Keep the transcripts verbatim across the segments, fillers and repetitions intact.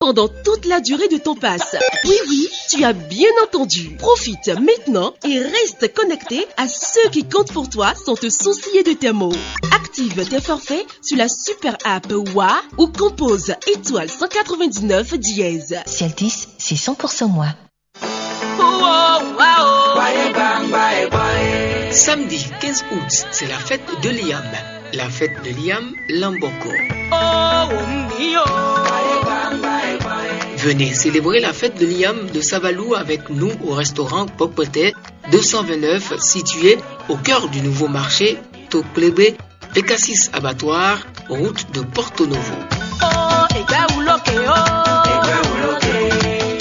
pendant toute la durée de ton pass. Oui, oui, tu as bien entendu. Profite maintenant et reste connecté à ceux qui comptent pour toi sans te soucier de tes mots. Active tes forfaits sur la super app Wa ou compose étoile cent quatre-vingt-dix-neuf dièse. Ciel dix, c'est cent pour cent moi. Samedi quinze août, c'est la fête de Liam. La fête de Liam Lamboko. Venez célébrer la fête de Liam de Savalou avec nous au restaurant Pokpoté deux cent vingt-neuf, situé au cœur du nouveau marché Toklebe, Pécassis Abattoir, route de Porto Novo.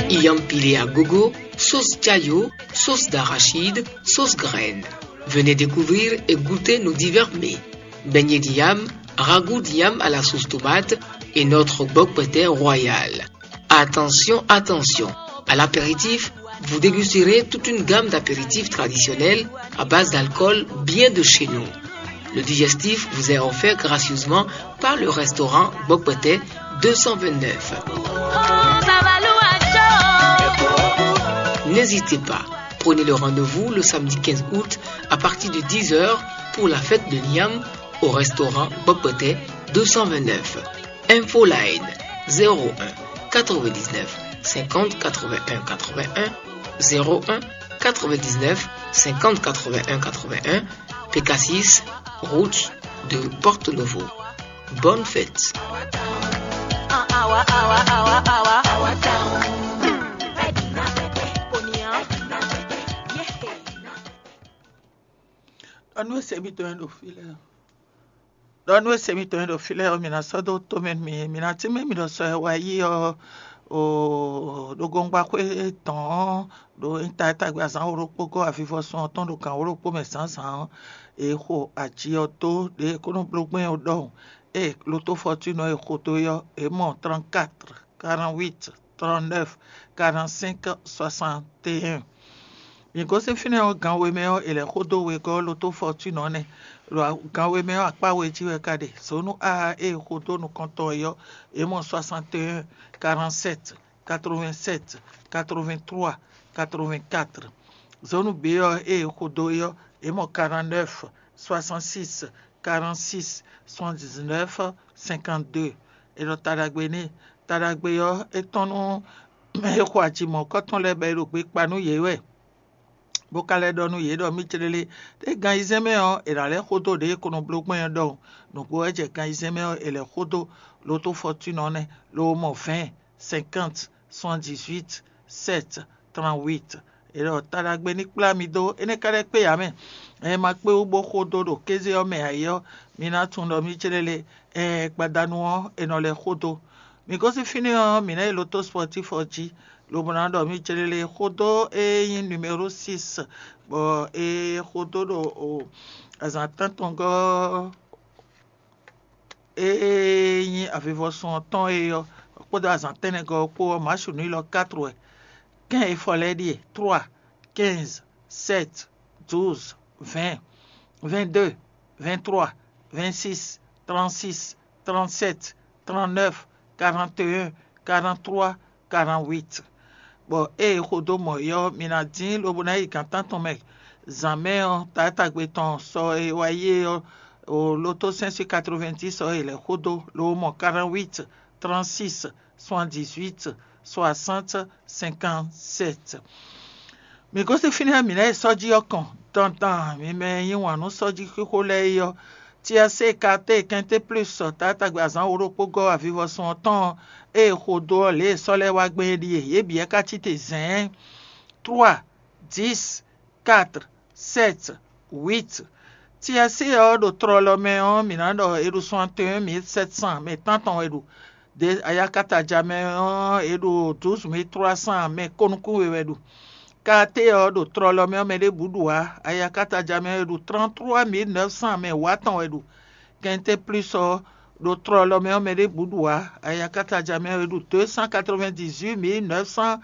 Iyam pilé à gogo, sauce chayo, sauce d'arachide, sauce graine. Venez découvrir et goûter nos divers mets. Beignet d'yam, ragoût d'yam à la sauce tomate et notre bokpete royal. Attention, attention. À l'apéritif, vous dégusterez toute une gamme d'apéritifs traditionnels à base d'alcool bien de chez nous. Le digestif vous est offert gracieusement par le restaurant Bokpete deux cent vingt-neuf. N'hésitez pas, prenez le rendez-vous le samedi quinze août à partir de dix heures pour la fête de Liam au restaurant Bokpete deux cent vingt-neuf. Infoline zéro un quatre-vingt-dix-neuf cinquante quatre-vingt-un quatre-vingt-un, zéro un quatre-vingt-dix-neuf cinquante quatre-vingt-un quatre-vingt-un, Pécassis, route de Porto Novo. Bonne fête. Ɖɔ nú e se mì tɔn ɖo fí lɛ́ɛ ɔ́, ɖɔ nú e se mì tɔn ɖo fí lɛ́ɛ ɔ́, mǐ ná sɔ́ dó tomɛ nú mì. Mǐ ná tínmɛ mì ɖɔ sɔ e wá yí ɔ́, o ɖo gɔngbaxwé tɔn ɔ́, ɖo nyí ta e tagbe azǎn wǒ ɖokpó gɔ́ avivɔsun ɔ́ tɔn ɖo gǎn wǒ ɖokpó mɛ zǎnzǎn ɔ́, è xo aji ɔ́ dó ɖě e kó nɔ bló gbɛn ɔ́ ɖɔhun. Ée loto fɔtúnɔ e xo dó é ɔ́, è mɔ trɔ́nkatr, karán-wít, trɔ́nnɛ́f, karán-sɛ́nk, swasanteyɛ́n. Mǐ gosín fínɛ́ ɔ́, gan we mɛ ɔ́, è lɛ̌ xo dó wegɔ́ loto fɔtúnɔ ɔ́ nɛ́. Ɖo gan we mɛ ɔ́, akpá we jí wɛ ka ɖe. Zǒnú aa e è xo dó nukɔn tɔn é ɔ́, è mɔ swasanteyɛ́n, karán-sɛ́t, quatre-vingt-sept, quatre-vingt-trois, quatre-vingt-quatre. Zone B ɔ́ e è xo dó é ɔ́, è mɔ quarante-neuf, soixante-six, quarante-six, soixante-dix-neuf, cinquante-deux. È ɖɔ taɖagbe n'i. Taɖagbe ɔ́, é tɔ́n nú mɛ e xo aji mɔ̌kɔ́ tɔn lɛ́ɛ bɔ è ɖo gbe kpa nú yě wɛ, bó ka lɛ́ ɖɔ nú yě ɖɔ mì céɖélé, ɖé gan ayizɛ́n mɛ ɔ́, è nǎ lɛ́ xo dó ɖě è ko nɔ bló gbɔn é ɔ́ ɖɔhun. Nǔgbó wɛ jɛ gan ayizɛ́n mɛ ɔ́, è lɛ̌ xo dó lotofɔtúnɔ nɛ́, lobo mɔ vɛ̌ɛn, cinquante, soixante-dix-huit, sept, trente-huit. È ɖɔ taɖagbe ní kplá mi dó, énɛ́ ka lɛ́ kpé ǎ mɛ. Ɛ ma kpé wú bó xo dó ɖo kéze ɔ́ mɛ ǎ é ɔ́, mi ná tunwun ɖɔ mì céɖélé, ɛ gbadanu ɔ́, è nɔ lɛ́ xo dó. Mǐ gosín fínɛ́ ɔ́, mǐ ná yi loto spɔtíf ɔ́ jí, lobo ná ɖɔ mì céɖélé xo dó e nyí numéro six, bɔ è xo dó ɖo azǎn tántɔngɔ́ e nyí avivɔsun ɔ́ tɔn é ɔ́, kpódó azǎn tɛ́nnɛgɔ́ ɔ́ kpó ɔ́, Masu nǔ élɔ́ quatre wɛ. Kɛ́n e fɔ lɛ́ɛ ɖíe: trois, quinze, sept, douze, vingt, vingt-deux, vingt-trois, vingt-six, trente-six, trente-sept, trente-neuf, quarante et un, quarante-trois, quarante-huit. Bɔ ée è xo dó mɔ é ɔ́, mi ná dín lobo ná yi gǎn tántɔn mɛ. Zǎn mɛ ɔ́, taátagbe tɔn sɔ e wá yi é ɔ́, o loto cinq cent quatre-vingt-dix ɔ́, è lɛ̌ xo dó, lobo mɔ quarante-huit, trente-six, soixante-dix-huit, soixante, cinquante-sept. Mǐ gosín fínɛ́ mǐ ná yi sɔ́ jí ɔ́ kɔn dandan, mi mɛ e yí wǎn nú sɔ́ jí xixo lɛ́ɛ é ɔ́, tiɛsé kate kɛnté plus taátagbe azǎn wǒ ɖokpó gɔ́ avivɔsun ɔ́ tɔn ée è xo dó ɔ́, lě e sɔ́ lɛ́ɛ wá gbɛn é ɖíe: yě bǐ wɛ ka cí te zɛ̌ɛ́n, trois, dix, quatre, sept, huit. Tiɛsé ɔ́ ɖo tlɔlɔ mɛ ɔ́, mǐ ná ɖɔ è ɖo soixante et un mille sept cent mɛ tántɔn wɛ ɖo. De ayakataja mɛ ɔ́, è ɖo douze mille trois cent mɛ kónúkún we wɛ ɖo. Kate ɔ́ ɖo tlɔlɔ mɛ ɔ́, mɛ ɖěbǔ ɖu ǎ. Ayakataja mɛ è ɖo trente-trois mille neuf cent mɛ wǎtɔn wɛ ɖo. Kɛnté plus ɔ́ ɖo tlɔlɔ mɛ ɔ́, mɛ ɖěbǔ ɖu ǎ. Ayakataja mɛ è ɖo deux cent quatre-vingt-dix-huit mille neuf cent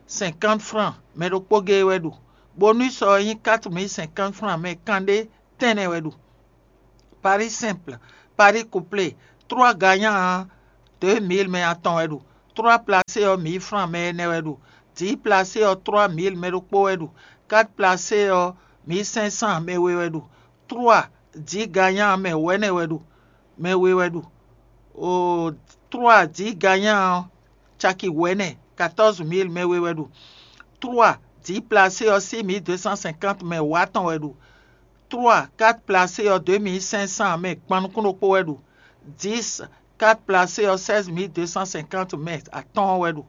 cinquante francs, mɛ ɖokpó géé wɛ ɖu. Bonus ɔ́ nyí quatre mille cinquante francs, mɛ kanɖé tɛ́nnɛ wɛ ɖu. Pari simple, pari couplé, trois gagnants, deux mille mɛ atɔn wɛ ɖu. Trois placé ɔ́, mǐ flán mɛ ɛnɛ wɛ ɖu. Dǐ placé ɔ́, trois mil mɛ ɖokpó wɛ ɖu. Quatre placé ɔ́, mǐ sɛ́n sán mɛ we wɛ ɖu. Trois dǐ ganyá mɛ wɛ̌nɛ wɛ ɖu. Mɛ we wɛ ɖu. O trois dǐ ganyá ɔ́, caki wɛ̌nɛ, quatorze mil mɛ we wɛ ɖu. Trois dǐ placé ɔ́, six mil deux cent cinquante mɛ wǎtɔn wɛ ɖu. Trois quatre placé ɔ́, deux mil cinq cent mɛ gban nukún ɖokpó wɛ ɖu. Dix quatre placé ɔ́, seize mil deux cent cinquante mɛ atɔ́ɔ́n wɛ ɖu.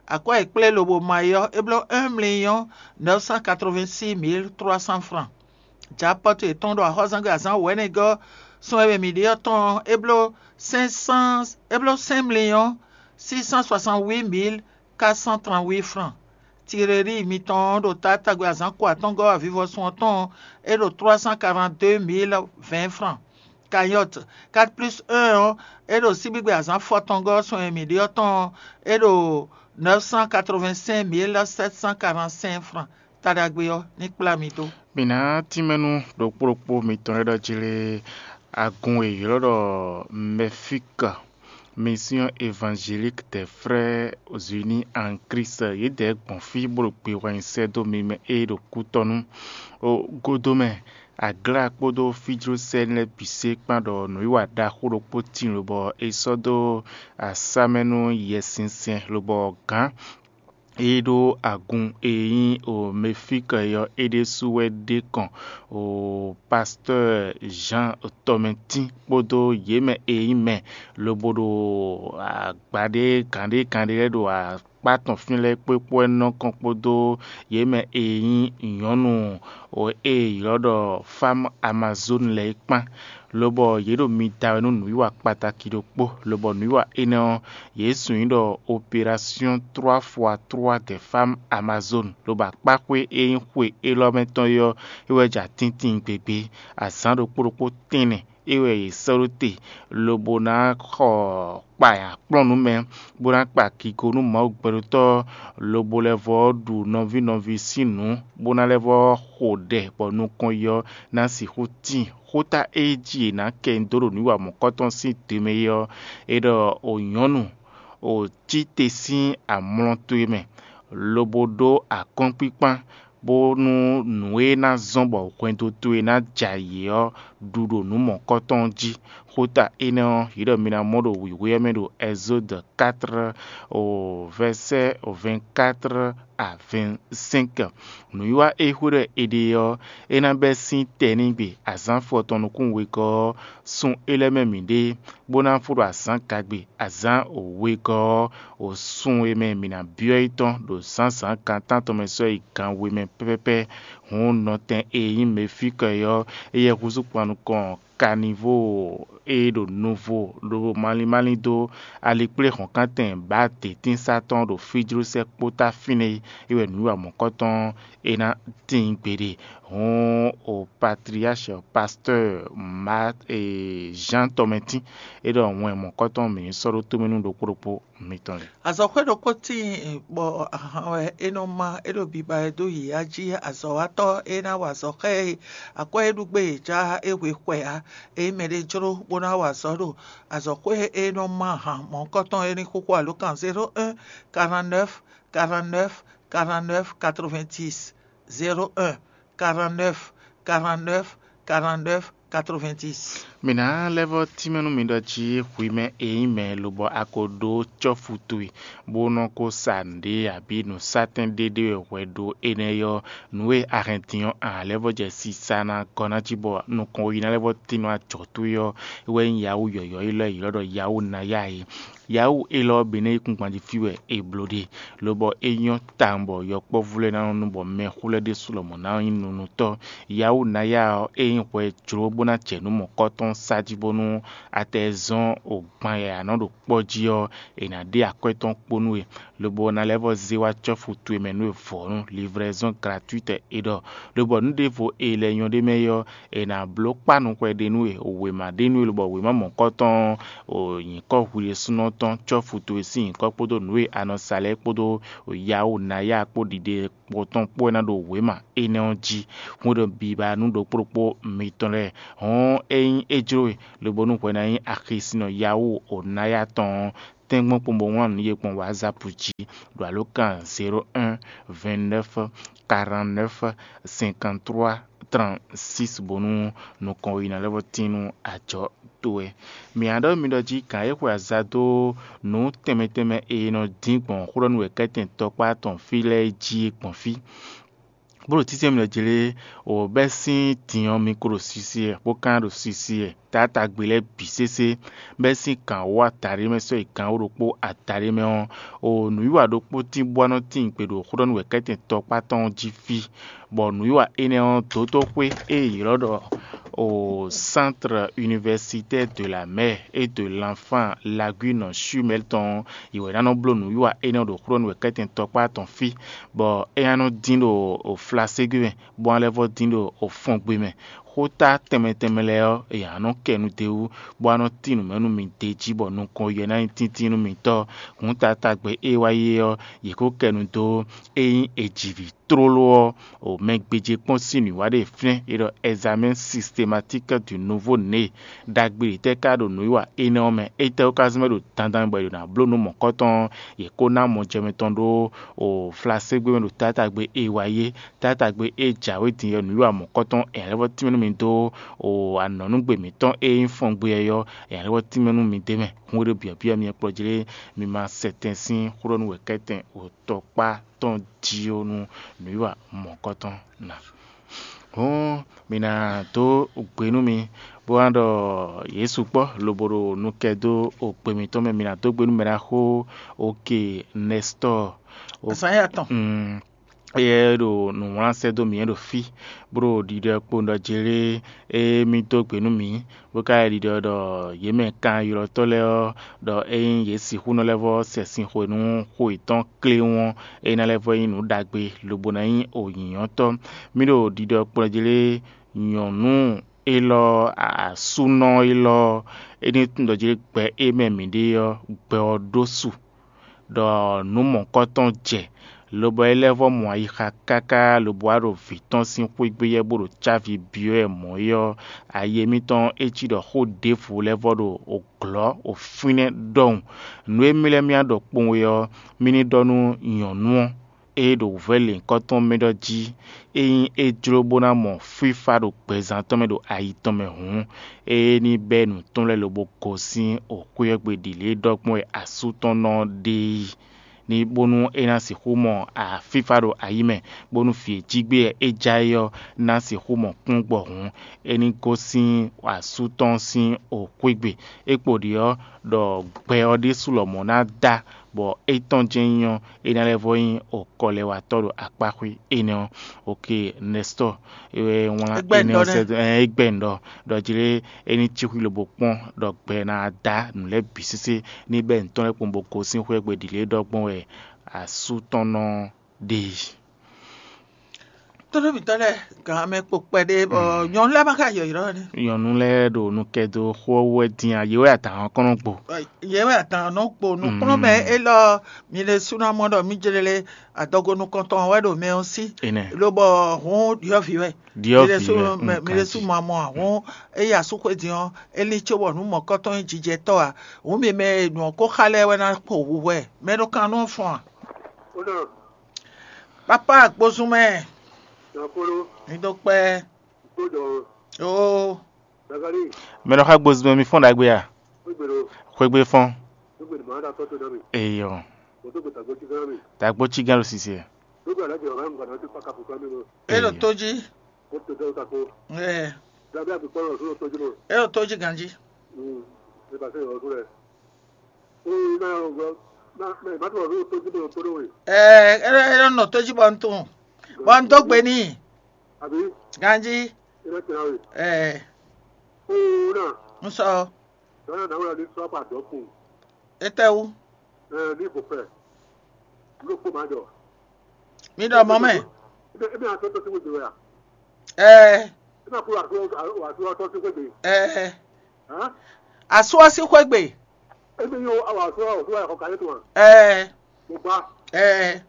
Akwɛ́ e kplé lobo ma é ɔ́, é bló un million neuf cent quatre-vingt-six mille trois cents francs. Japɔ́tu yětɔn ɖo axɔ́zangbe azǎn wɛ̌nɛgɔ́ sɔ́ e mɛ mǐ ɖe ɔ́ tɔn ɔ́, é bló cinq cent é bló cinq millions six cent soixante-huit mille quatre cent trente-huit francs. Tirelíi mitɔn ɔ́ ɖo taátagbe azǎn ko atɔ́ngɔ́ avivɔsun ɔ́ tɔn ɔ́, é ɖo trois cent quarante-deux mille vingt francs. Kayɔ́t quatre plus un ɔ́, é ɖo síbígbe azǎn fɔtɔngɔ́ sɔn e mǐ ɖe ɔ́ tɔn ɔ́, é ɖo neuf cent quatre-vingt-cinq mille sept cent quarante-cinq francs. Ta ɖagbe ɔ́ ní kplá mi dó. Mǐ ná tínmɛ nú ɖokpó ɖokpó mitɔn lɛ́ɛ ɖɔ jlé agun e è ylɔ́ ɖɔ Mɛfíka, Mission Évangélique des Frères Unis en Christ, yědɛɛ gbɔn fí bó ɖo gbe wɛ nyi sɛ́ dó mi mɛ e ɖo kútɔ́ nú. O godomɛ, Aglá kpódó fíjlósɛ́n lɛ́ɛ bǐ se kpán ɖɔ nǔwiwa ɖaxó ɖokpó tíin lobɔ è sɔ́ dó asá mɛ nú Yɛsinsɛn lobɔ gǎn e ɖó agun e nyí Mefíkɛ ɔ́, é ɖésú wɛ ɖe kɔn Pastɔ́ɔ Zǎn tɔmɛtín kpódó yě mɛ e nyí mɛ lobo ɖo agba ɖé gǎn ɖé gǎn ɖé lɛ́ɛ ɖo akpá tɔn fínɛ́ lɛ́ɛ kpó é kpó wɛ nɔ kɔn kpódó yě mɛ e nyí nyɔ̌nu e è ylɔ́ ɖɔ Fámu Amazónu lɛ́ɛ é kpán, lobɔ yě ɖo mi da wɛ nú nǔwiwa kpataki ɖokpó, lobɔ nǔwiwa énɛ́ ɔ́, yě sun nyí ɖɔ Opération trois fois trois des Femmes Amazones, lobo akpáxwé e nyí xwe élɔ́ mɛ tɔn é ɔ́, é wɛ ja tíntín gbegbé. Azǎn ɖokpó ɖokpó tɛ́nnɛ é wɛ yě sɔ́ ɖó te, lobo ná xɔ kpa nyi akplɔ́nǔ mɛ, bó ná kpa kigo nú Mawu gbɛɖotɔ́, lobo lɛ́ vɔ́ ɖu nɔví nɔví sín nǔ, bó ná lɛ́ vɔ́ xo ɖɛ bɔ nukɔn yi ɔ́ ná sixú tíin. Xóta e jí è nǎ kɛ nyi dó ɖo nǔ wa mɔ̌kɔtɔn sín dǒ mɛ é ɔ́, é ɖɔ: O nyɔ̌nu, o cí te sín amlɔ towe mɛ, lobo ɖó akɔ́nkpíkpán, bónú nǔ e ná zɔ́n bɔ hwɛndo towe ná jɛ ayǐ ɔ́ ɖu ɖo nǔ mɔ̌kɔtɔn jí. Xóta énɛ́ ɔ́, yě ɖɔ mi ná mɔ ɖo wǐwé ɔ́ mɛ ɖo Ɛzódu quatre, o vɛsɛ́ vingt-quatre à vingt-cinq. Nǔwiwa e xwé ɖɔ è ɖe ɔ́, é ná bɛ́ sín tɛnígbe azǎn fɔtɔn nukún wegɔ́ ɔ́, sun é lɛ́ɛ mɛ mǐ ɖe, bó ná fó ɖo azǎn gagbe azǎn wegɔ́ ɔ́, o sun e mɛ mǐ ná byɔ́ yi tɔn ɖo zǎnzǎn gan tántɔn mɛ sɔ́ yi gan we mɛ pɛ́pɛ́pɛ́. Hǔn nɔtɛn e nyí Mefíkɔ é ɔ́, éyɛ́ húzú kpan nukɔn Kanivóo e ɖo nuvo lobo malín malín dó alikpléhɔ̌nkántɛn bǎ dětínsá tɔn ɖo fíjlósɛ́ kpótá fínɛ́ é wɛ nǔwiwa mɔ̌kɔtɔn é ná tíin gbeɖe. Hǔn o patriáshɛ pastɔ́ɔ Zǎn tɔmɛtín é ɖɔ wɛn mɔ̌kɔtɔn mǐ ní sɔ́ ɖó tomɛ nú ɖokpó ɖokpó mitɔn lɛ́ɛ. Azɔ̌xwé ɖokpó tíin bɔ ahan wɛ é nɔ má, é ɖo biba wɛ dó yǐyá jí. Azɔ̌watɔ́ e ná wa azɔ̌ xá ɛ e akwɛ́ e ɖu gbé yě já é hwe xwɛ ǎ. Ényí mɛɖé jló bó ná wa azɔ̌ ɖo azɔ̌xwé e nɔ má ahan mɔ̌hunkɔtɔn é ní xúxú alǒkan zéro un, quarante-neuf, quarante-neuf, quarante-neuf, quatre-vingt-dix, zéro un, quarante-neuf, quarante-neuf, quarante-neuf, quatre-vingt-dix. Mǐ ná lɛ́ vɔ́ tínmɛ nú mi ɖɔ jí hwi mɛ e nyí mɛ lobɔ a ko ɖó cɔ́fu towe, bó nɔ́ ko sa nǔɖé abǐ nǔsátɛn ɖé ɖé wɛ hwɛ ɖó énɛ́ ɔ́, nǔ e a hɛn din ɔ́, a lɛ́ vɔ́ jɛ sisa ná gɔ́ ná jí bɔ nukɔn yi ná lɛ́ vɔ́ tín nú ajɔ̌ towe ɔ́, é wɛ nyí Yawú yɔ̌yɔ́ élɔ́ e è ylɔ́ ɖɔ Yawú ná ya é. Yawú élɔ́ ɔ́ bǐ nɛ́ nyí kúngban jí fí wɛ è blǒ ɖe, lobɔ é nyɔ́ tawun bɔ yɔkpɔ́vú lɛ́ɛ ná nɔ nu bɔ mɛxó lɛ́ɛ ɖésú lɔmɔ̌ ná nyí nunutɔ́. Yawú ná ya ɔ́, é nyí hwɛ e jlǒ bó ná jɛ nǔ mɔ̌kɔ́tɔn sa jí bónú a tɛ zɔ́n o gban yǎyá nɔ ɖo kpɔ́ jí ɔ́, è nǎ ɖe akwɛ́ tɔn kpó nú we, lobo ná lɛ́ vɔ́ zé wá cɔ́fu towe mɛ nú we vɔ̌nu, livraison gratuite è ɖɔ. Lobɔ nǔ ɖěvo e lɛ́ nyɔ́ ɖ'é mɛ é ɔ́, è nǎ bló kpá nukɔn ɖé nú we, wěma ɖé nú we, lobɔ wěma mɔ̌kɔ́tɔn ɔ́, o nyǐkɔ hwi ɖésúnɔ tɔn cɔ́fu towe sín nyǐkɔ kpódó nǔ e a nɔ sa lɛ́ɛ kpódó Yawú ná ya kpó ɖiɖe kpɔtɔn kpó wɛ ná ɖo wěma énɛ́ ɔ́ jí. Hwɛndo biba nú ɖokpó ɖokpó mitɔn lɛ́ɛ. Hɔn ényí é jló we, lobo nú hwɛ ná nyí axisinnɔ Yawú o ná ya tɔn ɔ́, tɛ́nkpɔ́n kpowun bó wlán nǔ ye gbɔn WhatsApp jí ɖo alǒkan zéro un, vingt neuf, quarante neuf, cinquante trois, trente six bónú nukɔn yi ná lɛ́ vɔ́ tín nú ajɔ towe. Mǐ ná ɖɔ mi ɖɔ jí gǎn e xwe aza dó nǔ tɛnmɛ tɛnmɛ e è nɔ dín gbɔn xó ɖɔ nú wěkɛ́tɛn tɔkpá tɔn fí lɛ́ɛ jí é gbɔn fí. Bó ɖo títí mɛ jlé o bɛ́ sín din ɔ́, mi ko ɖo sisi wɛ, bó ka ɖo sisi wɛ taátagbe lɛ́ɛ bǐ sésé, bɛ́ sín gǎn wú ataɖé mɛ sɔ́ yi gǎn wú ɖokpó ataɖé mɛ ɔ́, o nǔwiwa ɖokpó tín bó wá nɔ tín gbe ɖo xó ɖɔ nú wěkɛ́tɛn tɔkpá tɔn ɔ́ jí fí, bɔ nǔwiwa énɛ́ ɔ́, dǒtoxwé e è ylɔ́ ɖɔ o Centre Universitaire de la Mère et de l'Enfant Lagune Chumel tɔn ɔ́, yě wɛ ná nɔ bló nǔwiwa énɛ́ ɔ́ ɖo xó ɖɔ nú wěkɛ́tɛn tɔkpá tɔn fí, bɔ é ná nɔ dín ɖo o flaségbe mɛ, bó ná lɛ́ vɔ́ dín ɖo o fɔngbe mɛ. Xóta tɛnmɛ tɛnmɛ lɛ́ɛ ɔ́, è nǎ nɔ kɛ nu d'é wú, bó wá nɔ tín nǔ mɛ nú mi d'é jí, bɔ nukɔn yɛ ná nyí tíntín nú mitɔ́. Hǔn taatagbe e wá yi é ɔ́, yě ko kɛ nu dó é nyí è ji vǐ tlóló ɔ́, o mɛ gbéjé kpɔ́n sín nǔwiwa ɖé fínɛ́, è ɖɔ examen systématique du nouveau né. Ɖagbe ɖě tɛ́ ka ɖo nǔwiwa énɛ́ ɔ́ mɛ? Étɛ́ wú ka zɔ́n mɛ ɖo dandan mɛ bɔ è ɖo ná bló nǔ mɔ̌kɔtɔn? Yě ko ná mɔjɛmɛ tɔn ɖó o flaségbe mɛ ɖo taatagbe e wá yi é. Taatagbe e jǎwe din ɔ́, nǔwiwa mɔ̌kɔtɔn è nǎ lɛ́ vɔ́ tínmɛ nú mi dó o anɔ̌núgbe mǐtɔn e nyí fɔngbe ɔ́, è nǎ lɛ́ vɔ́ tínmɛ nú mi d'é mɛ. Hǔn e ɖo byɔ̌byɔ́ mi kplɔ́ jlé, mi ma sɛ tɛn sín xó ɖɔ nú wěkɛ́tɛn o tɔkpá tɔn jí ó nú nǔwiwa mɔ̌kɔtɔn ná. Hǔn mi ná dó gbe nú mi, bó wá ɖɔ yě sukpɔ́ lobo ɖo nu kɛ dó o gbe mǐtɔn mɛ. Mi ná dó gbe nú mɛ ɖaxó Oke Nɛstɔ́ɔ. Azǎn ya tɔn. Mm, éyɛ́ ɖo nǔwlán sɛ́ dó mǐ é ɖo fí, bó ɖo ɖiɖɔ kpowun ɖɔ Jelée e mì dó gbe nú mǐ, bó ka ɖiɖɔ ɖɔ yě mɛ kanylɔ́tɔ́ lɛ́ɛ ɔ́, ɖɔ ényí yě sixú nɔ lɛ́ vɔ́ sɛ sin xwe nú xwe yětɔn kléwún ɔ́, é ná lɛ́ vɔ́ nyí nǔ ɖagbe, lobo ná nyí wǔnyínyɔ́tɔ́. Mì ɖo ɖiɖɔ kplɔ́n jí lé nyɔ̌nu élɔ́, asúnɔ élɔ́, é ní tunwun ɖɔ jí lé gbɛ e mɛ mǐ ɖe ɔ́, gbɛ ɔ́ ɖó su, ɖɔ nǔ mɔ̌kɔtɔn jɛ, lobɔ é lɛ́ vɔ́ mɔ ayixa káká lobo wá ɖo vǐ tɔn sín xwé gbé yɛ́ bó ɖo cávi byɔ́ ɛ mɔ̌ é ɔ́, ayi émítɔn é cí ɖɔ xó ɖěvo lɛ́ vɔ́ ɖo glɔ̌ o fínɛ́ ɖɔhun. Nǔ e mì lɛ́ mì wá ɖɔ kpowun é ɔ́, mì ní ɖɔ nú nyɔ̌nu ɔ́, e ɖo wǔvɛ́ lěhunkɔtɔn mɛ ɖɔ jí, ényí é jló bó ná mɔ fífá ɖo gbɛzán tɔn mɛ ɖo ayi tɔn mɛ hǔn, é ní bɛ́ nǔ tɔn lɛ́ɛ lobo gosín xwé ɔ́ gbe ɖi lě e ɖɔ gbɔn wɛ asú tɔn nɔ ɖe é, ní bónú é ná sixú mɔ fífá ɖo ayi mɛ, bónú vǐ e jí gbé wɛ é já é ɔ́ ná sixú mɔ kpɔ́n gbɔ hǔn, é ní gosín asú tɔn sín xwé gbe. É kpo ɖi ɔ́, ɖɔ gbɛ ɔ́ ɖésú lɔmɔ̌ ná dá, bɔ étɔn jɛ́n nyí ɔ́, é ná lɛ́ vɔ́ nyí kɔlɛwatɔ́ ɖo akpáxwé énɛ́ ɔ́. Oke, Nɛstɔ́ɔ, é wɛ wlán énɛ́ ɔ́ sɛ́ dó, é gbɛ́ nǔ ɖɔ, ɖɔ jlé é ní cí xwí lobo kpɔ́n ɖɔ gbɛ ná dá nǔ lɛ́ɛ bǐ sésé ní bɛ́ nǔ tɔn lɛ́ɛ kpowun bó gosín xwé gbe ɖi lě e ɖɔ gbɔn wɛ asú tɔn nɔ ɖe. Tónúmítɔ́ lɛ́ɛ, gan mɛ kpo kpɛɖé bɔ nyɔ̌nu lɛ́ɛ ma ka yɔ̌yrɔ́ ni. Nyɔ̌nu lɛ́ɛ ɖo nu kɛ dó xó ɔ́ wú wɛ dín a, yě wɛ adǎn ɔ́ kɔn nɔ gbo. Yě wɛ adǎn nɔ gbo nukplɔ́nmɛ élɔ́, mi ɖésú ná mɔ ɖɔ mí jlélé adɔgo nukɔntɔn wɛ ɖo mɛ ɔ́ sí. Énɛ́. Lobɔ hǔn ɖyɔ̌vǐ wɛ. Ɖyɔ̌vǐ wɛ, mi ɖésú ma mɔ ǎ, hǔn ényí asúxwé din ɔ́, é ní có bɔ nǔ mɔ̌kɔtɔn nyí jijɛtɔ́ ǎ. Hǔn mi mɛ e nǔ ɔ́ ko xa lɛ́ɛ wɛ ná kpo hu hwɛ, mɛ ɖo kan nú fɔ́n ǎ. Papa gbozun mɛ. Mi dó kpɛ́. Oo. Mɛ nɔ xa gbozun mɛ mi fɔ́n ɖagbe a? Xwegbe fɔ́n. Eyɔ. Tagbo cí gán ɖo sisi ɛ. É ɖo tó jí. Ɛ. É ɖo tó jí ganjí. Ɛ, é ɖo, é ɖo nɔ tó jí bɔ un tunwun. Bɔ un dó gbe n'i. Ganjí. Ɛ. Un sɔ. Étɛ́wú? Mi ɖɔ mɔ̌ mɛ. Ɛ. Ɛ. Asú ɔ́ sín xwé gbe. Ɛ. Ɛ.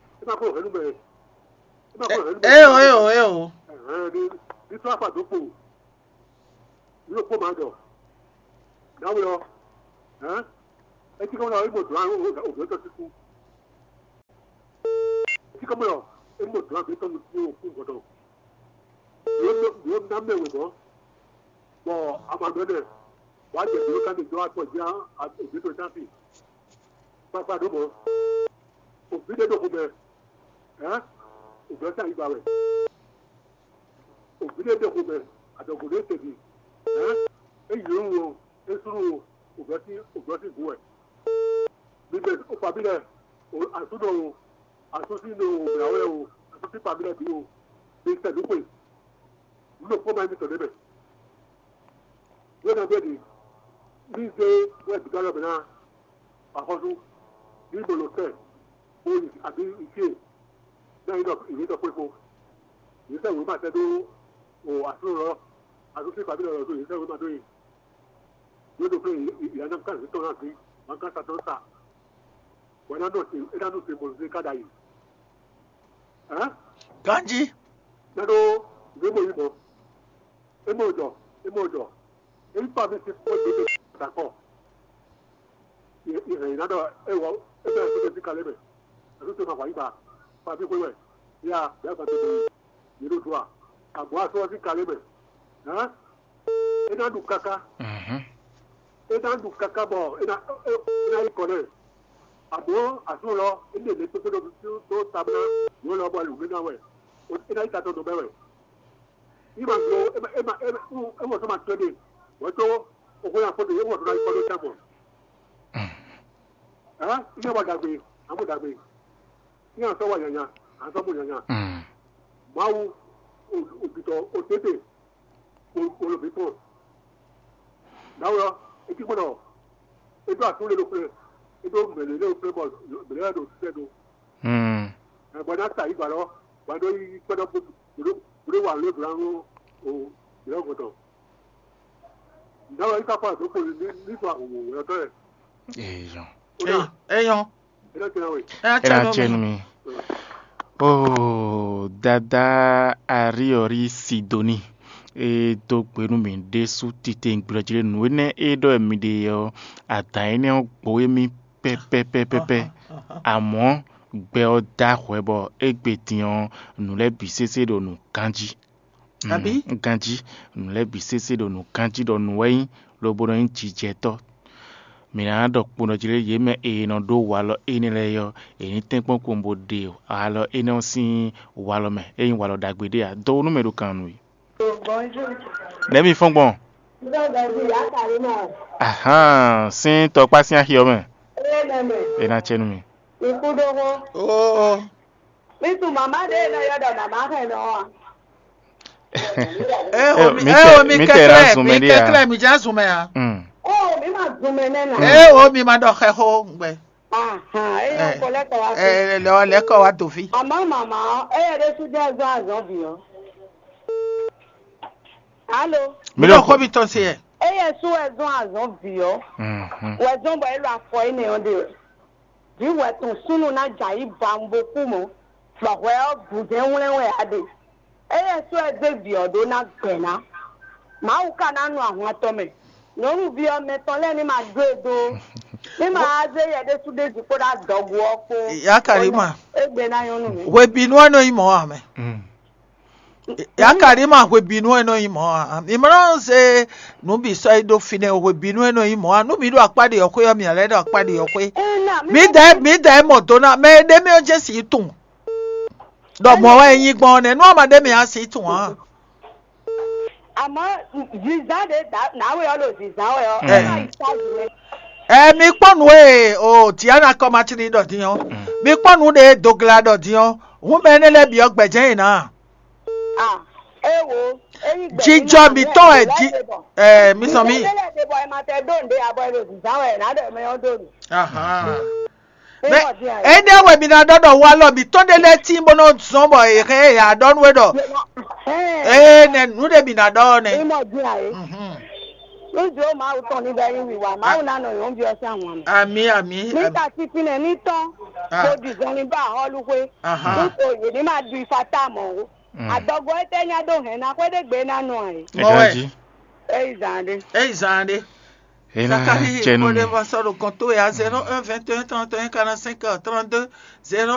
Eo, eo, eo. Etí kɔmɔ ɔ́, é mɔ dɔ̌n ɔ́, ó dɔ̌n tɔ́ síkú. Etí kɔmɔ ɔ́, é mɔ dɔ̌n ɔ́, é tɔ́ nukún ó kún gɔdɔ. Yǒ ná mɛ wě gɔ́, bɔ amagbe nɛ, wǎ jɛ dǒ ká ɖe dó akpɔ jí á, òbí tó táfi. Kpakpa ɖó mɔ, òbí ɖé ɖo xomɛ, hɛn, òbí ɔ́ tá yi ba wɛ. Òbí ɖé ɖo xomɛ, adɔgo ɖé tɛ́ntin, hɛn, é yǒ wú o, é slú o, òbí ɔ́ sín òbí ɔ́ sín gǔ wɛ. Mi mɛ o fa mì lɛ, asú nɔ o, asú sín nɔ o mlǎ wɛ o, asú sín fa mì lɛ bǐ o, mi sɛ nǔ xwe. Nǔ ɖokpó ma nyí mitɔn ɖ'é mɛ. Nú é ná gbɛ́ ɖi, ní zé wɛ bǐ ká lɔ bǐ ná axɔ́sú, ní mɔ lɔ kɛ, bó yi abǐ yi fíe, ná yi ɖɔ ìwé ɖɔ xwé kpó. Yě sɛ wěma sɛ́ dó o asú lɔ, asú sín fabí lɔ dó yě sɛ wěma dó yi. Yě ɖo flé yě ná ká zǐn tɔn ná zǐn, má ká sa tɔn sa. Wɛ ná nɔ se é ná nɔ se mɔ zé ká ɖ'ayǐ. Hɛn? Ganjí. Ná ɖó nǔ e mɔ yí mɔ. É mɔ jɔ, é mɔ jɔ. É yí kpa mi sín kpɔ́ dó dó dakɔ. Yě hɛn yě ná ɖɔ é wɔ é bɛ́ ɛ́ sín kalé mɛ. Ɛ́ tó ma hwa yí ba. Kpa mi xwé wɛ. Ya bɛ́ gba tó dó yě ɖo dó a. Àgbo asɔ ɔ́ sín kalé mɛ. Hɛn? É ná ɖu káká. Mhm. É ná ɖu káká bɔ é ná é ná yi kɔ nɛ. Àbó asú lɔ é ɖe lě kpékpé ɖó dó tabla yǒ lɔ bɔ lǔmí ná wɛ. É ná yi tatɔ dó bɛ́ wɛ. Í ma glo é ma é ma é ma é wɔ sɔ́ ma tɔ́ ɖe. Wɛ tó o xó ya fó ɖe é wɔ sɔ́ ná yi kɔ ɖó tɛ́ mɔ. Hɛn? Í yɛ wɔ ɖagbe, amú ɖagbe. Í yɛ sɔ́ wɔ nyanya, a sɔ́ mɔ nyanya. Mm. Mawu, o o bitɔ o tete. Kpolo mǐtɔn. Nǎwe ɔ́, é cí kpɔ́n ɖɔ é ɖó asú lé ɖokplé, é ɖó mɛ̌ lé ɖokplé bɔ mɛ̌ lɛ́ɛ ɖo sisɛ ɖó. Hmm. Ɛ, bɔ é ná sa yǐ gbalɔ, bɔ é ɖó yi kpɛ́ ɖɔ bó ɖó bó ɖó wa lě blǎ nú o blɛ̌ gɔtɔ. Nǎwe ɔ́, é ká kpɔ́n azɔ̌ kpoli ní ní sɔ ahɔ̌nmɔ̌ wɛ́ ɔ́ tɔ́ ɛ. Eyɔn. Ó ná Eyɔn. É ná tɛ́ ná we. É ná É ná tɛ́ nú cɛ mì. Nú mi. Oo, Dadá Ariɔri Sidoni, é dó gbe nú mì ɖésú titewungbe jí lé nǔ énɛ́ e ɖɔ wɛ mi ɖe ɔ́, adǎn énɛ́ ɔ́ gbo wɛ mì pɛ́pɛ́pɛ́pɛ́. Amɔ̌ gbɛ ɔ́ dó ahwɛ bɔ égbé din ɔ́, nǔ lɛ́ɛ bǐ sésé ɖo nǔ ganjí. Abǐ? Mm, ganjí, nǔ lɛ́ɛ bǐ sésé ɖo nǔ ganjí ɖɔ nǔ wɛ nyí, lobo nɔ nyí jijɛtɔ́. Mǐ ná ɖɔ kponɔ jí lé yě mɛ e nɔ ɖó walɔ énɛ́ lɛ́ɛ ɔ́, è ní tɛ́nkpɔ́n kpowun bó ɖe walɔ énɛ́ ɔ́ sín walɔ mɛ, é nyí walɔ ɖagbe ɖé ǎ. Dó nú mɛ ɖo kan nú we. Nɛ̌ mi fɔ́n gbɔn? Ahán, sín tɔkpá sín axi ɔ́ mɛ. É ná cɛ nú mi. Oo. Mí tunwun mǎmá ɖě e nɔ ylɔ́ ɖɔ mǎmá hɛn nɔ ɔ́ a? Eo, mi tɛ mi mi tɛ tɛ ná zun mɛ mi ɖe tɛ ya. Tlɛ mi jɛ zun mɛ a? Mm. Ó, mí ma zun mɛ nɛ́ nà. Mm. Eo, mi ma ɖɔ xɛ xó gbɛ. Ahan, é yɔ kɔ lɛ́ kɔ wá sí. Ɛ lɛ lɛ kɔ wá dò fí. Àmọ́ màmá, é yɛ ɖésú jẹ́ zɔ́n azɔ̌ bǐ ɔ́. Alo. Mi Mi ɖɔ ɖɔ xó xó mi tɔn se yɛ. É yɛ sú wɛ zɔ́n azɔ̌ bǐ ɔ́. Mm, mm. Wɛ zɔ́n bɔ é lɔ afɔ énɛ́ ɔ́ ɖe wɛ. Vǐ wɛ tɔn súnnu ná jɛ ayǐ ba un bo kú mɔ̌, bɔ hwɛ ɔ́ gǔ jɛ́n wlɛ́n wɛ a ɖe. Éyɛ́ sɔ́ ɛ zé vǐ ɔ́ ɖó ná gbɛ̌ ná. Mawu ka ná nu ahwan tɔn mɛ. Nyɔ̌nuví ɔ́, mɛ tɔn lɛ́ɛ ní ma dó e dó ó. Ní ma wá zé yɛ ɖésú ɖé jí kpódó adɔgu ɔ́ kpó. Yakarima. Égbé ná nyɔ́ nú mǐ. Hwebǐnu ɔ́ nɔ nyí mɔ̌ ǎ mɛ. Mm. Yakarima hwebǐnu ɔ́ nɔ nyí mɔ̌ ǎ. Mi ma nɔ zé nǔ bǐ sɔ́ yi ɖó fínɛ́ o, hwebǐnu ɔ́ nɔ nyí mɔ̌ ǎ. Nú mǐ ɖo akpá ɖe ɔ́ xwé ɔ́, mǐ lɛ́ ɖo akpá ɖe ɔ́ xwé. Ɛ, na, mi Mǐ ma dɛ dé mǐ dɛ mɔ do ná mɛ e ɖ'é mɛ ɔ́ jɛ́n sǐ tunwun. Ɖɔ mɔ̌ wɛ é nyí gbɔn ɔ́ nɛ́, nú a ma ɖ'é mɛ ǎ, sǐ tunwun ǎ. Àmọ́ zǐzán ɖě dǎ- nǎwe ɔ́ ɖo zǐzán wɛ ɔ́, Mm. é má yi tázi mɛ. Ɛ mi kpɔ́n nǔ e o Diana kɔ ma tlí ɖɔ din ɔ́. Mm. Mi kpɔ́n nǔ ɖe dogla ɖɔ din ɔ́. Hǔn mɛ énɛ́ lɛ́ɛ bǐ ɔ́ gbɛ̌jɛ́n yě ná. Ah, é wo, é yí gbɛ̌ Jijɔ nínú mǐtɔn wɛ jí- ɛ, mi sɔn mí. Mí lɛ́ ɖe bɔ ɛ ma tɛ ɖó nǔɖé abɔ ɛ ɖo zǐzán wɛ ná ɖɔ mɛ ɔ́ ɖó nǔ. Ahan. Mɛ Mímɔ dín ayé. Énɛ́ wɛ mi ná ɖɔ ɖɔ walɔ mǐtɔn ɖé lɛ́ɛ tín bó nɔ zɔn bɔ è hɛn ɛ yǎ ɖɔ nú we ɖɔ Hɛn. ee nɛ nǔ ɖé mi ná ɖɔ ɔ́ nɛ. Mímɔ dín ayé. Mhm. Lójú ó Mawu tɔn ní bɛ yín wíwá. Mawu ná nɔ yǒn bí ɔ́ sín àwọn àmì. Àmì àmì. Ní àmì. Ta títí nɛ ní tɔn. Ah. Kó di zɔn ní bá àhɔ́lú xwé. Ahan. Ní kò yè ní máa du ifa tá mɔ̌ ó. Mm. Àdɔgɔ étɛ́ nyá ɖó hɛn ná xwé ɖé gbé ná nɔ ayé. Mɔ wɛ. Ganjí. Éyí zàn ɖé. Éyí zàn ɖé. Zakári, kpɔɖé vɔ sɔ́ ɖo kɔn towe ya, zéro un vingt et un trente et un quarante cinq trente deux, zéro